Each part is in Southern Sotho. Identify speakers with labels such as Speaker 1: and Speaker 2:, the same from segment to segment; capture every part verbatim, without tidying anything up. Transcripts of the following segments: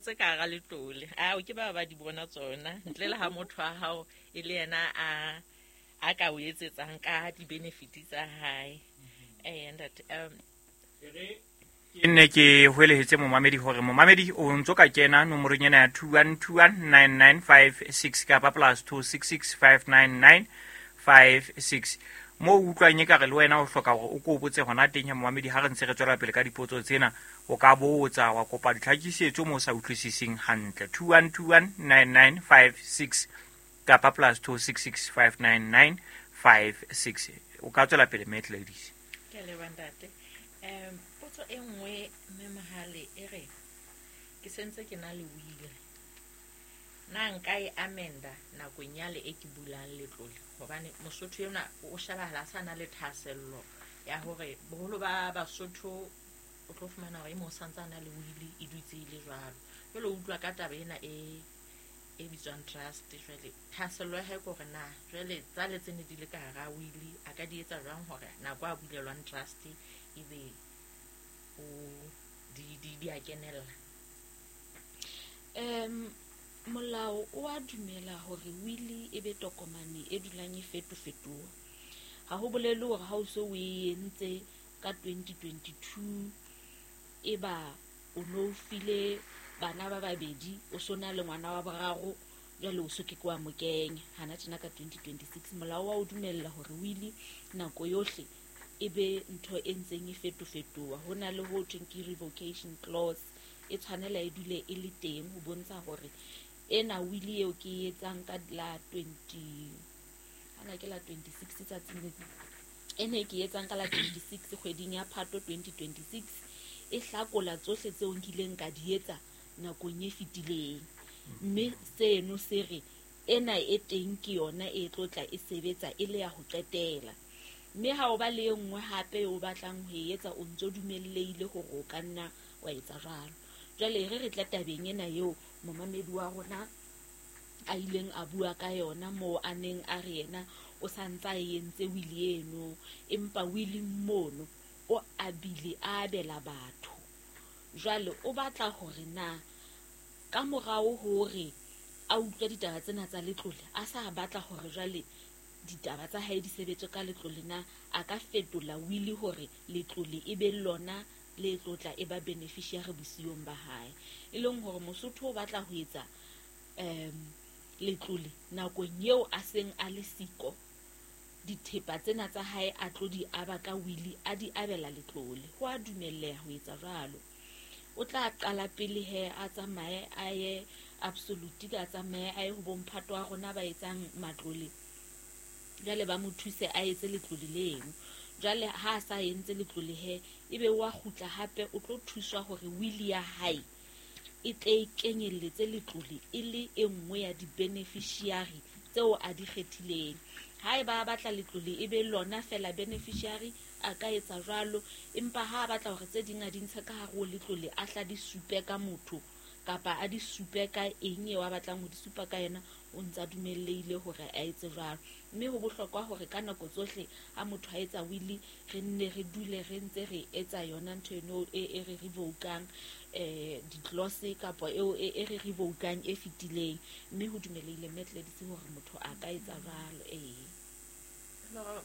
Speaker 1: Tse ka hara letlole ao ke ba ba di bona tsona, ntle le ha motho wa hao e le yena a a ka o etsetsang ka di-benefit tsa hae. Ee, ntate, um
Speaker 2: ke nne ke hwelehetse momamedi hore momamedi o ntso ka kena nomorong ena ya two one two one nine nine five six kapa plus two six six five nine nine five six. Mo o utlwang ekare le wena o hloka hore o ko botse hona teng ya momamedi, ha re ntse re tswela pele ka dipotso tsena, o ka botsa wa kopa ditlhakisetso mo o sa utlwisising hantle. two one two one nine nine five six kapa plus two six six five nine nine five six. O ka tswela pele, Mme Gladys.
Speaker 1: Ke a leboha, ntate. um potso e nngwe, mme Mohale, e re ke sentse ke na le will, na nka e amenda nakong yale e ke bulang letlole? Hobane Mosotho enwa o shebahala a sa na le thahasello ya hore boholo ba Basotho o tlo fumana hore e mong santse a na le will e dutse e le jwalo. Jwale o utlwa ka taba ena e e bitswang trust, jwale thahasello ya hae ke hore na jwale tsale tse ne di le ka hara will a ka di etsa jwang hore nako a bulelwang trust ebe o di di di a kenella.
Speaker 3: um molao o a dumela hore will e be tokomane e dulang e fetofetoha. Ha ho bolele hore ha o so o e entse ka twenty twenty-two e ba o no file bana ba babedi, o so na le ngwana wa boraro, jwale o so ke ke wa mo kenya hana tjena ka twenty twenty-six. Molao wa o dumella hore will nako yohle e be ntho e ntseng e fetofetoha. Ho na le ho thweng ke revocation clause, e tshwanela e dule e le teng ho bontsha hore ena will eo ke e etsang ka la twenty, hana ke la twenty-six tsatsing le, ena e ke e etsang ka la twenty-six kgweding ya Phato twenty twenty-six, e hlakola tsohle tseo nkileng ka di etsa nakong e fetileng. Mme seno se re ena e teng ke yona e tlo tla e sebetsa e le ya ho qetela. Mme ha o ba le e nngwe hape o batlang ho e etsa, o ntso dumellehile hore o ka nna wa etsa jwalo. Jwale re re tla tabeng ena eo momamedi wa rona a ileng a bua ka yona, moo a neng a re yena o sa ntsa e entse will eno, empa will mono o abile a abela batho. Jwale o batla hore na ka morao hore a utlwe ditaba tsena tsa letlole, a sa batla hore jwale ditaba tsa hae di sebetswe ka letlole, na a ka fetola will hore letlole e be lona le tlotla e ba beneficiary bosiyong ba hae. E leng hore Mosotho o batla ho etsa um letlole nakong eo a seng a le siko, dithepa tsena tsa hae a tlo di aba ka will, a di abela letlole. Ho a dumelleha ho etsa jwalo. O tla qala pele he a tsamaye a ye absolute, a tsamaye a ye ho bomphato wa rona ba etsang matlole, jwale ba mo thuse a etse letlole leno. Jwale ha a sa entse letlole he, ebe wa kgutla hape o tlo thuswa hore will ya hae e tle e kenyelletse letlole e le e nngwe ya di-beneficiary tseo a di kgethileng. Haeba a batla letlole e be lona fela beneficiary, a ka etsa jwalo, empa ha a batla hore tse ding a di ntshe ka hare ho letlole, a hla di supe ka motho kapa a di supe ka eng eo a batlang ho di supa ka yena, o ntsa dumellehile hore a etse jwalo. Mme ho bohlokwa hore ka nako tsohle ha motho a etsa will, re nne re dule re ntse re etsa yona ntho eno e, e re revokang eh di-clause kapa eo e, e re revokang e fetileng. Mme ho dumelehile mme Gladys hore motho a ka etsa jwalo. Ee.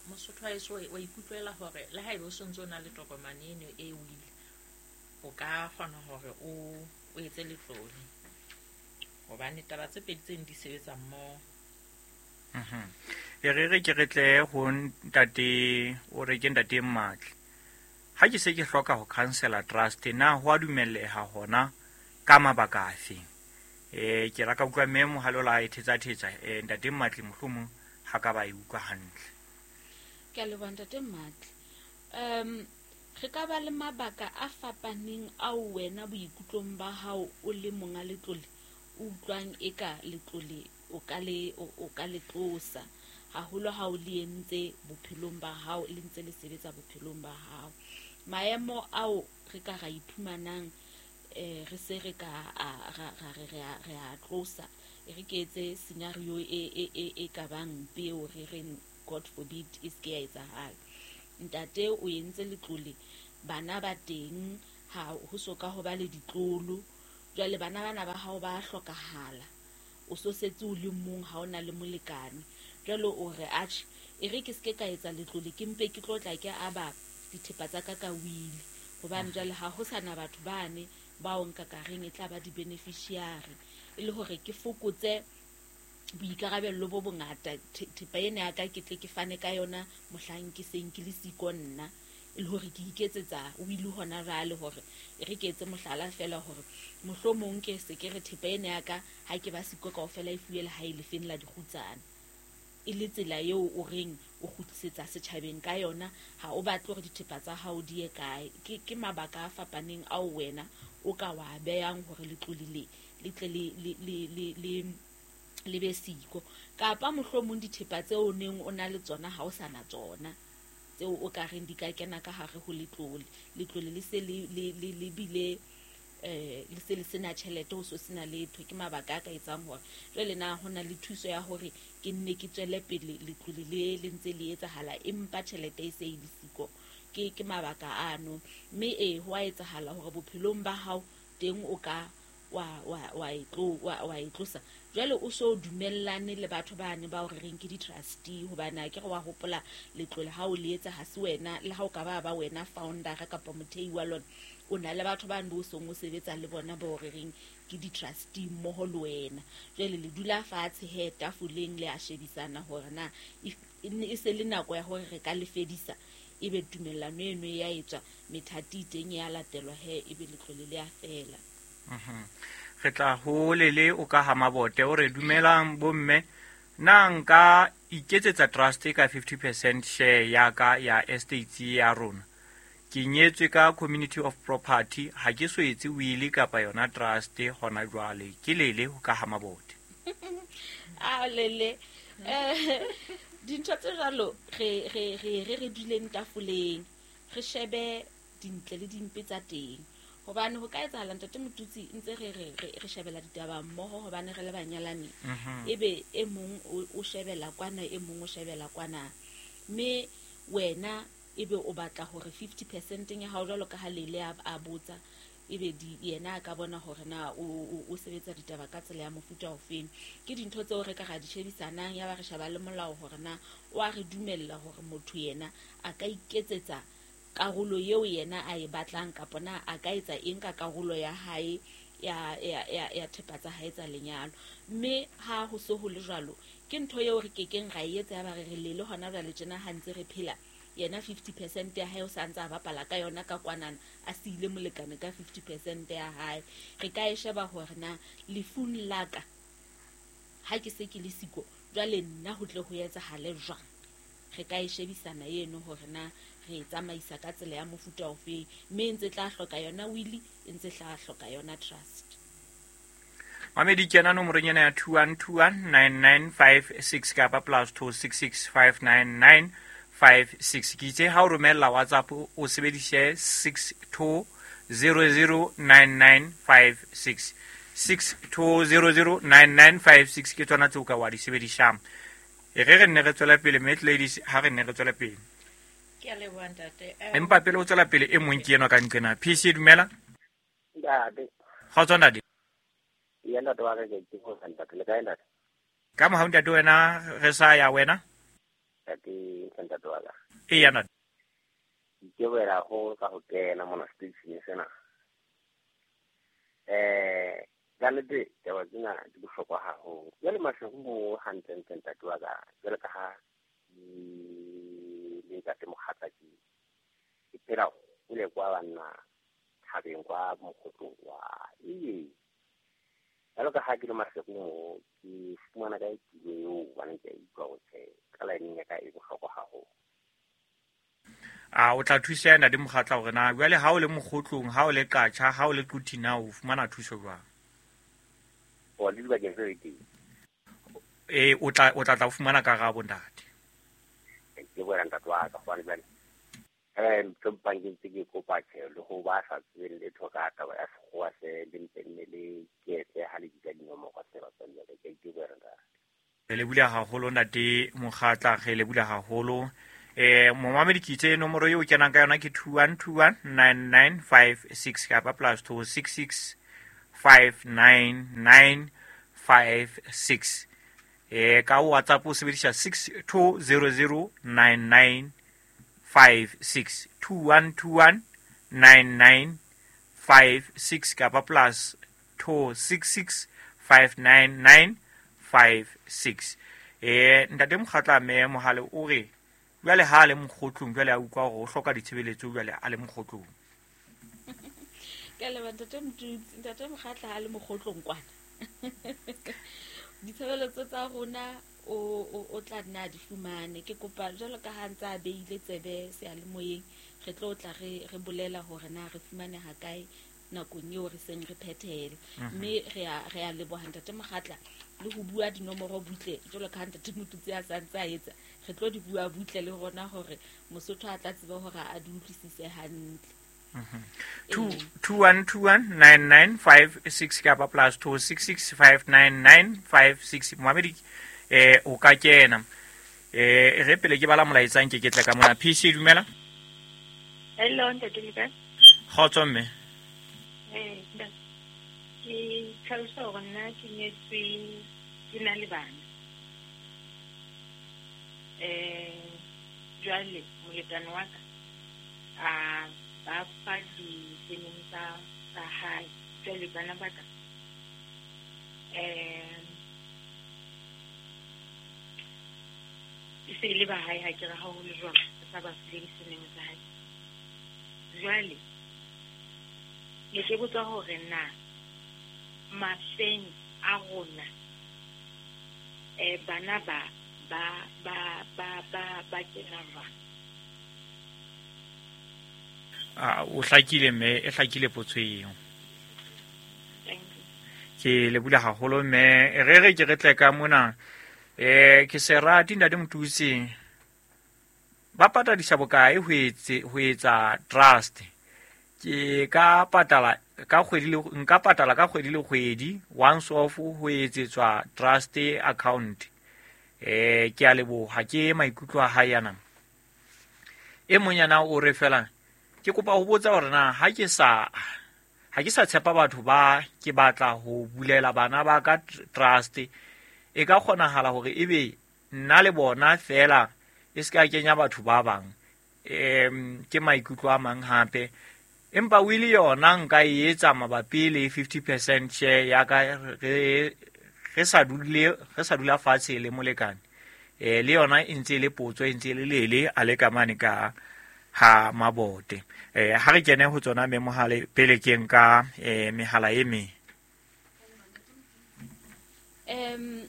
Speaker 1: Mosotho wa heso wa ikutlwela hore le haeba o sontso o na le tokomane eno e will, o ka kgona hore o o etse letlole, hobane taba tse pedi tseno di sebetsa mmoho.
Speaker 2: Mhm. E re re ke re tle ho ntate, o re ke ntate Mmatli. Ha ke se ke hloka ho cancela trust, na ho a dumelleha hona ka mabaka afe? Eh, ke la ka utlwa mme Mohale o la e thetsa thetsa, eh, ntate Mmatli mohlomong ha ka ba e utlwa hantle.
Speaker 3: Ke a leboha ntate Mmatli. Um re ka ba le mabaka a fapaneng ao wena boikutlong ba hao o le monga letlole o utlwang eka letlole o ka le, o, o ka le tlosa, haholo ha o le entse bophelong ba hao, le ntse le sebetsa bophelong ba hao. Maemo ao re ka ra iphumanang, eh, re se re ka a, ra, ra, re, re a, re a tlosa, e re ke etse scenario e, e, e, e ka bang mpe eo re reng God forbid e se ke ya etsahala. Ntate o entse letlole, bana ba teng, ha ho so ka ho ba le ditlolo, Jwale bana bana ba hao ba hlokahala, o so setse o le mong, ha o na le molekane. Jwale o re atjhe, e re ke se ke ka etsa letlole, ke mpe ke tlo tla ke aba dithepa tsa ka ka wili, hobane jwale ha ho sana batho bane bao nka ka reng e tla ba di-beneficiary, e le hore ke fokotse boikarabello bo bongata. Thepa ena ya ka ke tle ke fane ka yona mohlang ke seng ke le siko nna, e le hore ke iketsetsa wili hona jwale. Hore e re ke etse mohlala feela hore mohlomong ke se ke re thepa ena ya ka ha ke ba siko kaofela e fuwe lehae lefeng la dikgutsana, e le tsela eo o reng o kgutlisetsa setjhabeng ka yona. Ha o batle hore dithepa tsa hao di ye kae. Ke, ke mabaka a fapaneng ao wena o ka wa behang hore letlole le le tle le le le le le le be siko. Kapa mohlomong dithepa tseo o neng o na le tsona ha o sa na tsona, tseo o ka reng di ka kena ka hare ho letlole, letlole le se le le le le bile eh le se le sena tjhelete, ho so sena letho. Ke mabaka a ka etsang hore jwale na ho na le thuso ya hore ke nne ke tswele pele letlole le le ntse le etsahala, empa tjhelete e se e le siko. Ke ke mabaka ano. Mme e ho a etsahala hore bophelong ba hao teng o ka wa wa wa e tlo wa wa e tlosa. Jwale o so dumellane le batho bane ba o re reng ke di-trustee, hobane a ke re wa hopola letlole ha o le etsa ha se wena, le ha o ka ba ba wena founder kapa mothei wa lona, o na le batho bane bo seng o sebetsa le bona ba o re reng ke di-trustee mmoho le wena. Jwale le dula fatshe he tafoleng le a shebisana hore na e se le nako ya hore re ka le fedisa, ebe tumellano eno e ya etswa, methati teng ya latelwa he, ebe letlole le a fela.
Speaker 2: Mhm. Re tla ho lele o ka ha Mabote o re dumelang bomme, na nka iketsetsa trust ka fifty percent share ya ka ya estate ya rona? Ke nyetswe ka community of property, ha ke so etse will kapa yona trust hona jwale. Ke lele o ka ha Mabote.
Speaker 3: A lele eh dintho tse jwalo re re re re re duleng tafoleng, re shebe dintle le dimpe tsa teng. Hobane ho ka etsahala ntate Motutsi ntse re re re shebela ditaba mmoho, hobane re le banyalani, ebe e mong o shebela kwana, e mong o shebela kwana, mme wena ebe o batla hore fifty percent ya hao jwalo ka ha lele a botsa, ebe di yena a ka bona hore na o o sebetsa ditaba ka tsela ya mofuta ofeng. Ke dintho tseo re ka ra di shebisanang, ya ba re sheba le molao hore na o a re dumella hore motho yena a ka iketsetsa karolo eo yena a e batlang, kapa na a ka etsa eng ka karolo ya hae ya ya ya ya thepa tsa hae tsa lenyalo. Mme ha ho so ho le jwalo, ke ntho eo re kekeng ra e etsa ya ba re re lele hona jwale tjena ha ntse re phela, yena fifty percent ya hae o sa ntse a bapala ka yona ka kwanana, a siile molekane ka fifty percent ya hae. Re ka e sheba hore na lefung la ka ha ke se ke le siko, jwale nna ho tle ho etsahale jwang. Re ka e shebisana eno hore na re tsamaisa ka tsela ya mofuta ofe, mme e ntse tla hloka yona will, e ntse tla hloka yona trust.
Speaker 2: Mamedi kena nomorong ena ya two one two one nine nine five six kapa plus two six six five nine nine five six. Ke itse ha o romella WhatsApp o sebedise six two zero zero nine nine five six. six two zero zero nine nine five six ke tsona tseo ka wa di sebedisang. E re re nne re tswela pele, mme ladies ha re nne re tswela pele.
Speaker 1: Ke a leboha ntate.
Speaker 2: Empa pele o tswela pele e mong ke enwa ka nqena. P C dumela.
Speaker 4: Ntate.
Speaker 2: Kgotso ntate.
Speaker 4: Ya ntate wa ka ke go ntate le kae ntate?
Speaker 2: Ka mohau ntate wena re sa ya wena?
Speaker 4: Ntate ntate wa ka.
Speaker 2: E ya ntate.
Speaker 4: Ke wela go ka go kena mona station sena. Eh ka nnete taba tsena di bohlokwa haholo. Jwale Maseru mo hantlentle ntate wa ka, jwale ka ha le ntate Mokgatla ke ke phela hole kwa banna thabeng kwa Mokgotlong wa ee. Jwalo ka ha ke le Maseru mo, ke fumana kae tulo eo hobane ke a utlwa hore tjhe, ka line ya ka e bohlokwa haholo.
Speaker 2: A o tla thusa ntate Mokgatla hore na jwale ha o le Mokgotlong, ha o le Qacha, ha o le Quthing, o fumana thuso jwang?
Speaker 4: O le dibakeng tse teng.
Speaker 2: Eh o tla o tla tla fumana karabo ntate.
Speaker 4: Ke bona ntate wa ka hobane jwale eh ntho mpang ke ntse ke kopa tjhe le ho ba sa tsebeng letho ka taba ya sekgowa se le mpe nne le ketse ha le bitsa dinomoro tse ba tswang jwale ke ke bona ntate.
Speaker 2: Re le bula haholo ntate Mokgatla, re le bula haholo. Eh momamedi ke itse nomoro eo kenang ka yona ke two one two one nine nine five six kapa plus two six six five nine nine five six. Eh ka WhatsApp o sebedisa six two zero zero nine nine five six two one two one nine nine five six kapa plus two six six five nine nine five six. Eh ntate Mokgatla me Mohale o re jwale ha le mokgotlong jwale a utlwa hore o hloka ditshebeletso jwale a le mokgotlong.
Speaker 3: Ke le ntate Mtutsi, ntate Mokgatla ha le mokgotlong kwana. Ditshebeletso tsa rona o o tla nna di fumane. Ke kopa jwalo ka ha ntsa beile tsebe seyalemoyeng, re tlo tla re re bolela hore na re fumane ha kae nakong eo re seng re phethele. Mme re a re a leboha ntate Mokgatla le ho bua dinomoro butle jwalo ka ha ntate Motutsi a sa ntsa etsa, re tlo di bua butle le rona hore Mosotho a tla tseba hore a di utlwisise hantle.
Speaker 2: two two one two one nine nine five six kapa plus two six six five nine nine five six. Moamedi eh o ka kena eh re pele ke bala molaetsa nke ke tle ka mona. P C dumela.
Speaker 5: Hello ntate le kae?
Speaker 2: Kgotso mme.
Speaker 5: Eh ke tlhalosa hore nna ke nyetswe ke na le bana. Eh jwale molekane wa ka a ba fa di-surname tsa tsa hae, jwale bana ba ka eh e se le ba hae ha ke re ha ho le jwalo sa ba file di-surname tsa hae. Jwale ne ke botsa hore na mafeng a rona eh bana ba ba ba ba ba ba kena jwang?
Speaker 2: Ah o hlakile mme e hlakile potso eo. Ke le bula haholo mme re re ke re tle ka mona eh ke serati ntate Motutsi ba patadisa bokae ho etse ho etsa trust? Ke ka patala ka kgwedi le nka patala ka kgwedi le kgwedi once off ho etsetswa trust account. Eh ke a leboha ke maikutlo a hae yana. E mong yana o re fela ke kopa ho botsa hore na ha ke sa ha ke sa tshepa batho ba ke batla ho bulela bana ba ka trust e ka kgonahala hore ebe nna le bona fela e se ka kenya batho ba bang. Em ke maikutlo a mang hape empa wili yona nka e etsa mabapi le fifty percent share ya ka re re sa dule re sa dula fatshe le molekane. Eh le yona e ntse le potso e ntse le lele a le ka mane ka ha mabote. Eh ha re kene ho tsona me Mohale pele ke nka eh mehala e me.
Speaker 3: Em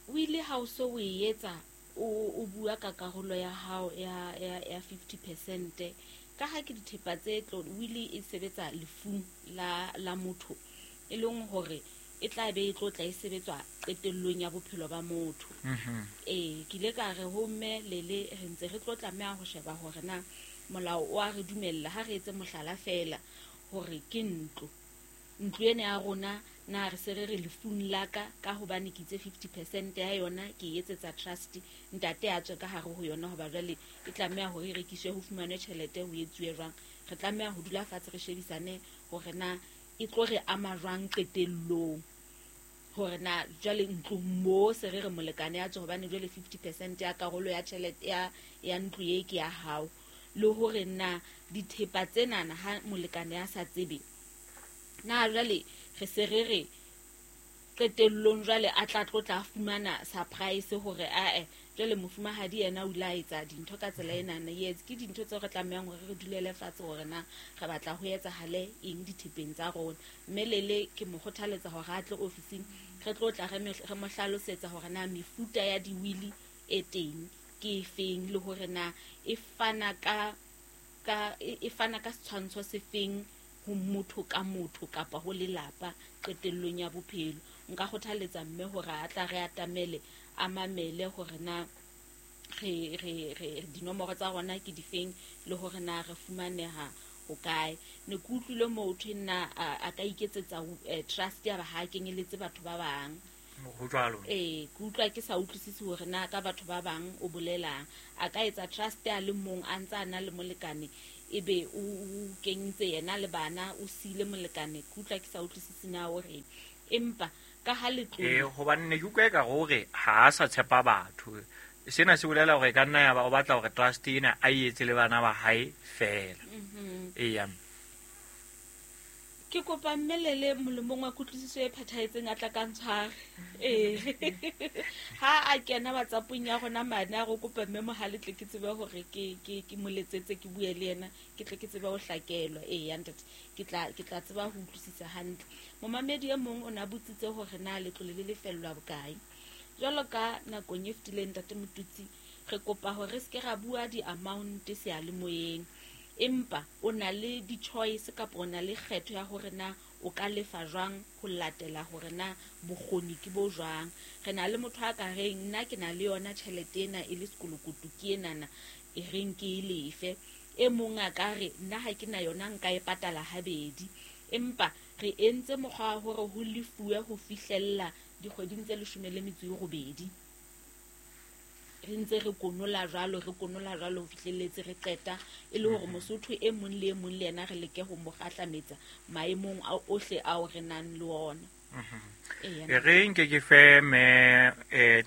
Speaker 3: wili ha o so o etsa o o bua ka karolo ya hao ya ya ya fifty percent ka ha ke dithepa tse tlo wili e sebetsa lefung la la motho e leng hore e tla be e tlo tla e sebetswa qetellong ya bophelo ba motho. Eh ke ile ka re ho mme lele re ntse re tlo tlameha ho sheba hore na molao o a re dumella ha re etse mohlala fela hore ke ntlo ntlo ena ya rona na re se re re lefung la ka ka hobane ke itse fifty percent ya yona ke e etsetsa trust ntate a tswe ka hare ho yona hoba jwale e tlameha hore e rekiswe ho fumanwe tjhelete ho etsuwe jwang. Re tlameha ho dula fatshe re shebisane hore na e tlo re ama jwang qetellong hore na jwale ntlo mo se re re molekane ya tswe hobane jwale fifty percent ya karolo ya tjhelete ya ya ntlo e ke ya hao le hore na dithepa tsenana ha molekane ya sa tsebe na jwale re se re re qetellong jwale a tla tlo tla fumana surprise hore ae jwale mofumahadi yena o ile a etsa dintho ka tsela enana. Yes ke dintho tseo re tlamehang hore re dulele fatshe hore na re batla ho etsahale eng dithepeng tsa rona. Mme lele ke mo kgothaletsa hore a tle ofising re tlo tla re mo hlalosetsa hore na mefuta ya diwili e teng ke efeng le hore na e fana ka ka e fana ka setshwantsho sefeng ho motho ka motho kapa ho lelapa qetellong ya bophelo. Nka kgothaletsa mme hore a tla re atamele a mamele hore na re re re dinomoro tsa rona ke difeng le hore na re fumaneha ho kae. Ne ke utlwile motho nna a ka iketsetsa trust ya ba ha kenyeletse batho ba bang
Speaker 2: ho jwalo.
Speaker 3: Eh ke utlwa ke sa utlwisisi hore na ka batho ba bang o bolelang a ka etsa trust ya le mong a ntsa na le molekane ebe o kentse yena le bana o sile molekane ke utlwa ke sa utlwisisi na o reng empa ka ha letlole
Speaker 2: eh hobane ne ke utlwa ka hore ha a sa tshepa batho sena se bolela hore ka nna ya ba o batla hore trust ena a etse le bana ba hae fela. Eya
Speaker 3: ke kopa mmelele molemong wa kutlwisiso e phethahetseng a tla ka ntshware ee ha a kena WhatsAppong ya rona mane a re kopa mme Mohale tle ke tsebe hore ke ke ke mo letsetse ke bue le yena ke tle ke tsebe ho hlakelwa ee ya ntate ke tla ke tla tseba ho utlwisisa hantle. Momamedi e mong o na botsitse hore na letlole le lefellwa bokae jwalo ka nakong e fetileng ntate Motutsi re kopa hore re se ke ra bua di-amount seyalemoyeng empa o na le di-choice kapa o na le kgetho ya hore na o ka lefa jwang ho latela hore na bokgoni ke bo jwang. Re na le motho a ka reng nna ke na le yona tjhelete ena e le sekolokoto ke enana e reng ke e lefe e mong a ka re nna ha ke na yona nka e patala habedi empa re entse mokgwa wa hore ho lefuwe ho fihlella dikgweding tse leshome le metso e robedi re ntse re konola jwalo re konola jwalo ho fihlelletse re qeta e le hore Mosotho e mong le e mong le yena re leke ho mo kgahlametsa maemong a ohle ao re nang le ona.
Speaker 2: E re nke ke fe me eh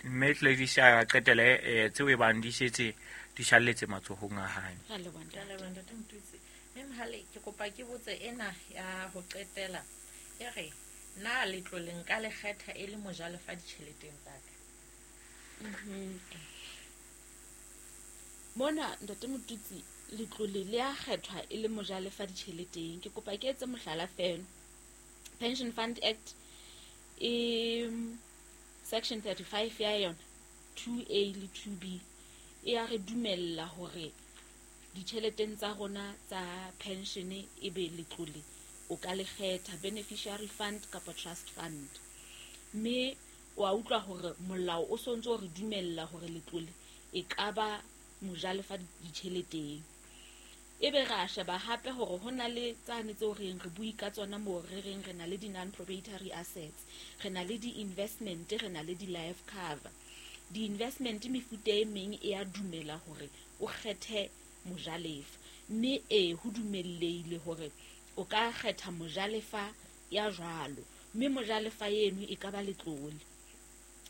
Speaker 2: me Gladys a qetele tseo e bang di setse di shalletse matsohong a hae.
Speaker 3: Ra leboha
Speaker 1: ntate Motutsi. Mme Mohale ke kopa ke botse ena ya ho qetela e re na letlole nka le kgetha e le mojalefa ditjheleteng tsa ka.
Speaker 3: Mona ntate Motutsi letlole le a kgethwa e le mojalefa ditjheleteng ke kopa ke etse mohlala fela. Pension Fund Act e section thirty-five ya yona two A le two B e a re dumella hore ditjheleteng tsa rona tsa pension e be letlole o ka le kgetha beneficiary fund kapa trust fund mme wa utlwa hore molao o sontso o re dumella hore letlole e ka ba mojalefa ditjheleteng ebe ra sheba hape hore ho na le tsane tseo re re bui ka tsona moo re reng re na le di-non-proprietary assets re na le di-investment re na le di-life cover. Di-investment mefuta e meng e a dumela hore o kgethe mojalefa mme e ho dumellehile hore o ka kgetha mojalefa ya jwalo mme mojalefa eno e ka ba letlole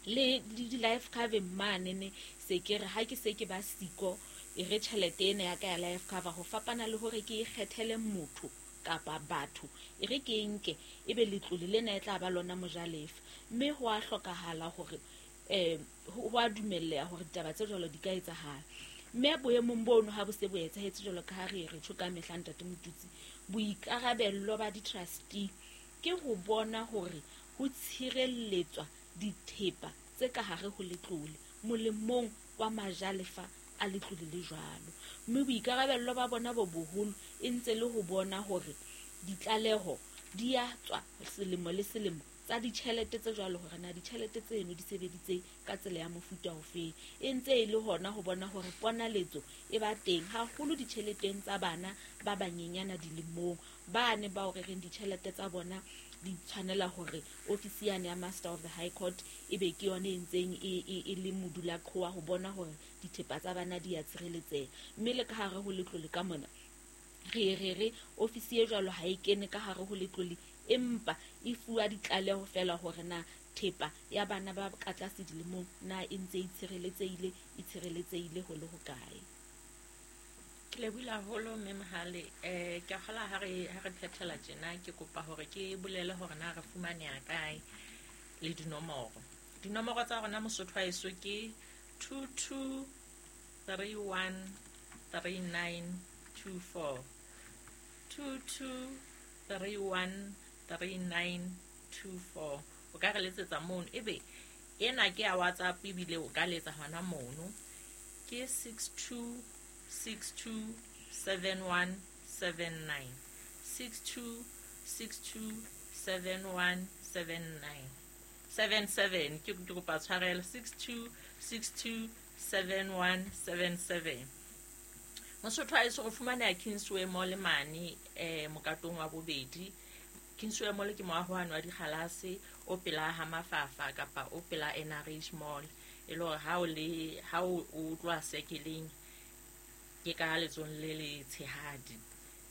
Speaker 3: le di-life cover mane ne se ke re ha ke se ke ba siko e re tjhelete ena ya ka ya life cover ho fapana le hore ke e kgethele motho kapa batho e re ke nke ebe letlole lena e tla ba lona mojalefa mme ho a hlokahala hore eh ho a dumelleha hore ditaba tse jwalo di ka etsahala mme boemong bono ha bo se bo etsahetse jwalo ka ha re re tjho ka mehla ntate Motutsi boikarabello ba di-trustee ke ho bona hore ho tshireletswa dithepa tse ka hare ho letlole molemong wa majalefa a letlole le jwalo mme boikarabello ba bona bo boholo e ntse le ho bona hore ditlaleho di a tswa selemo le selemo tsa ditjhelete tse jwalo hore na ditjhelete tseno di sebeditse ka tsela ya mofuta ofe e ntse e le hona ho bona hore ponaletso e ba teng haholo ditjheleteng tsa bana ba banyenyana dilemong ba ne ba o reng ditjhelete tsa bona di tshwanela hore ofisi yane ya Master of the High Court e be ke yone e ntseng e e le modula qhowa ho bona hore dithepa tsa bana di a tshireletseha mme le ka hare ho letlole ka mona re re re ofisi e jwalo ha e kene ka hare ho letlole empa e fuwa ditlaleho fela hore na thepa ya bana ba ka tlase dilemong na e ntse e tshireletsehile e tshireletsehile ho le hokae.
Speaker 1: Ke lebohile haholo mme Mohale eh ke kgola ha re ha re phethela tjena ke kopa hore ke bolele hore na re fumaneha kae le dinomoro. Dinomoro tsa rona Mosotho wa heso ke two two three one three nine two four two two three one three nine two four o ka re letsetsa mono ebe ena ke ya WhatsApp ebile o ka letsa hona mono ke six two six two seven one seven nine six two six two seven one seven nine seven seven ke kopa tshwarelo six two six two seven one seven seven. Mosotho a eso go fumaneha Kingsway Mall mane eh mokatong wa bobedi. Kingsway Mall ke moaho wa dikgalase o pela ha Mafafa kapa o pela N R H Mall e le hore ha o le ha o tloha sekeleng Ke ka letsohong le letshehadi.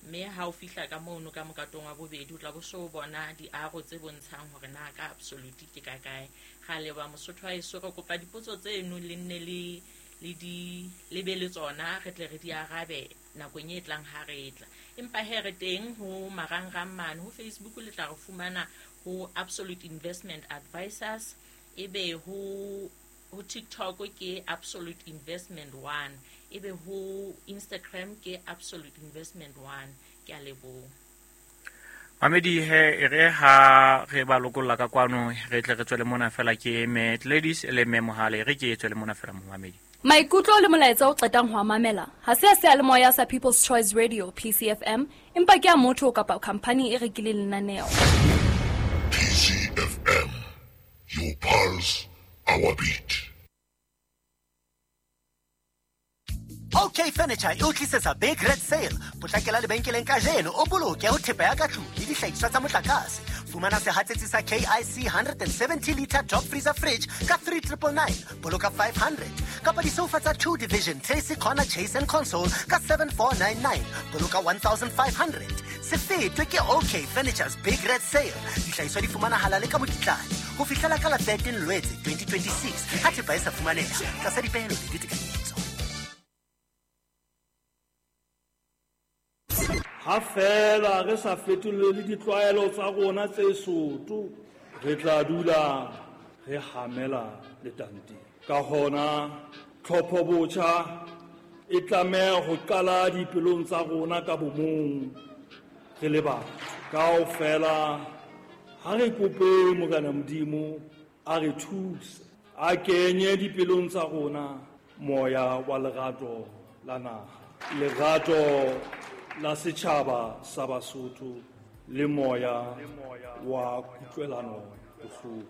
Speaker 1: Mme ha o fihla ka mono ka mokatong wa bobedi o tla bo so bona diaro tse bontshang hore na ka absolute ke ka kae. Ga leba Mosotho wa eso, re kopa dipotso tseno le nne le le di le be le tsona, re tle re di arabe nakong e tlang ha re tla. Empa he re teng ho marangrang mane ho Facebook, le tla re fumana ho Absolute Investment Advisors, ebe ho ho TikTok ke Absolute Investment one, ebe ho Instagram ke Absolute Investment one. Ke a leboha.
Speaker 2: Mamedi, he e re ha re ba lokolla ka kwano, re tle re tswele mona fela ke me Ladies le me Mohale, re ke tswele mona fela momamedi.
Speaker 6: Maikutlo le molaetsa o qetang ho a mamela ha se a seyalemoya sa People's Choice Radio P C F M, empa ke a motho kapa khampani e rekileng lenaneo.
Speaker 7: P C F M, your pulse, our beat.
Speaker 8: OK Furniture e o tlisetsa Big Red Sale. Potlakela lebenkeleng kajeno o boloke ho thepa ya ka tlung le dihlahiswa tsa motlakase. Fumana sehatsetsi sa K I C one hundred seventy liter top freezer fridge ka three triple nine, boloka five hundred. Kapa disofa tsa two division Tracy Corner Chase and Console ka seven four nine nine, boloka one thousand five hundred. Se fetwe ke OK Furniture's Big Red Sale. Dihlahiswa di fumanahala le ka mokitlane ho fihlela ka la thirteen Lwetse twenty twenty-six. Ha thepa e sa fumaneha tlasa dipehelo le ditekanyetso.
Speaker 9: Ha fela re sa fetolele ditlwaelo tsa rona tse soto, re tla dula re hamela letanteng. Ka hona tlhopho botjha e tlameha ho qala dipelong tsa rona ka bomong re le batho. Kaofela ha re kope Morena Modimo a re thuse, a kenye dipelong tsa rona moya wa lerato la naha, lerato la setjhaba sa Basotho le moya wa kutlwelano bohloko.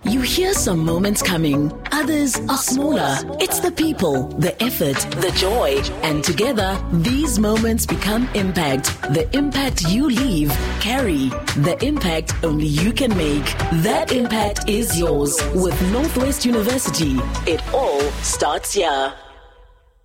Speaker 10: You hear some moments coming, others are smaller. It's the people, the effort, the joy, and together, these moments become impact. The impact you leave, carry. The impact only you can make. That impact is yours. With Northwest University, it all starts here.